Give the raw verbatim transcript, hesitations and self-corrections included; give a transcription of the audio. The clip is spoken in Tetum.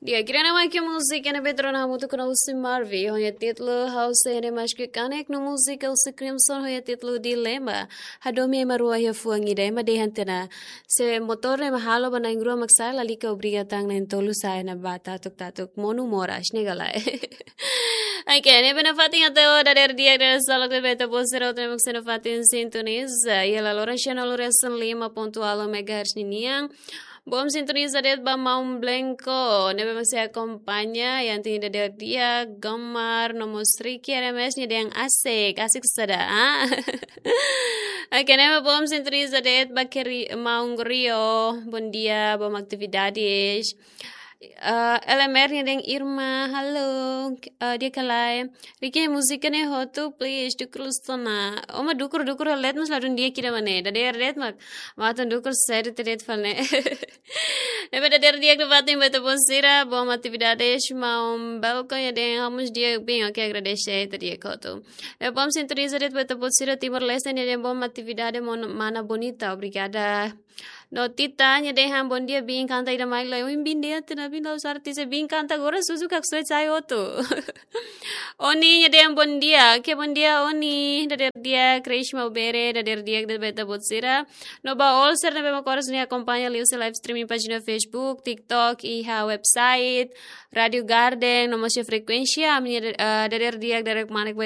Di'ak, ida-ne'e mak múzika ne'ebé tuur ona hamutuk ho Usi Marvi, ho nia títulu Ha'u Sei Hanesan Maski Kanek, no múzika Usi Crimson ho nia títulu Dilema. Hadomi ema rua iha fuan ida, ema dehan tiha ona: se motór ne'e mak halo ba na'in rua mak sa'e, lalika obriga tan na'in tolu sa'e ona ba tatuk-tatuk monu moras, ne'e ka lae? Oke, ne'ebé nafatin atu dadeer di'ak, dadeer salak ne'ebé ita-boot sira hotu ne'ebé mak sei nafatin sintoniza iha laloran sianulu resin lima pontu ualu megahertz ninian. Boom sintoniza de'it ba Maun Blanco, ne'ebé mak sei akompaña, iha ita-nia dadeer di'ak, Gamar, no mós Ricky R M S nia dehan asik, asik saida, ah? Oke, ne'e mak boom sintoniza de'it ba Keri-, Maun Rio, bom dia, boom atividades. Ah, L M R nia dehan Irma, halo, ah, di'ak ka lae? Ricky, múzika ne'e hotu, please, dukur loos ona. Ó mak dukur, dukur halo de'it, mas ladún di'ak ida-ne'e. Dadeer de'it mak, mak atu dukur sériu de'it fali ne'e. Ne'ebé dadeer di'ak nafatin ba ita-boot sira, boom atividades, Maun Blanco nia dehan ha'u mós di'ak biin, oke, agradese, ita di'ak hotu. Ne'ebé boom sintoniza de'it ba ita-boot sira Timor-Leste nia dehan boom atividade mon-, mana bonita, obrigada. No Tita nia dehan bom dia biin, kanta ida mai lai, ohin biin dehan tiha ona, biin la'ós artis, biin kanta agora susu kak suet sai hotu. Oni nia dehan bom dia, oke, bom dia Oni, dadeer di'ak, Krishma Ubere, dadeer di'ak de'it ba ita-boot sira. No ba all sira ne'ebé mak oras ne'e akompaña liuhusi live streaming pájina Facebook, TikTok, iha website, Rádio Garden, no mós iha frekuénsia, ami-nia, eh, dadeer di'ak, dadeer kmanek ba